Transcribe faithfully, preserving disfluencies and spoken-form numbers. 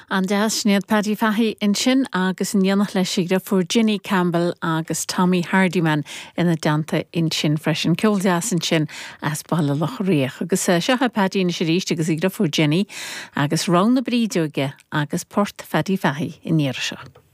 An-deas Sinéad Paddy Fahey ansin agus in éineacht leis a dheirfiúr Ginny Campbell agus Tommy Hardiman ina dteannta ansin freisin ceol deas ansin as Baile Locha Riach. Agus seo é Paddy anois arís agus a dheirfiúr Ginny agus Roth na Brídeoige agus Port Phaddy Fahey in iar seo.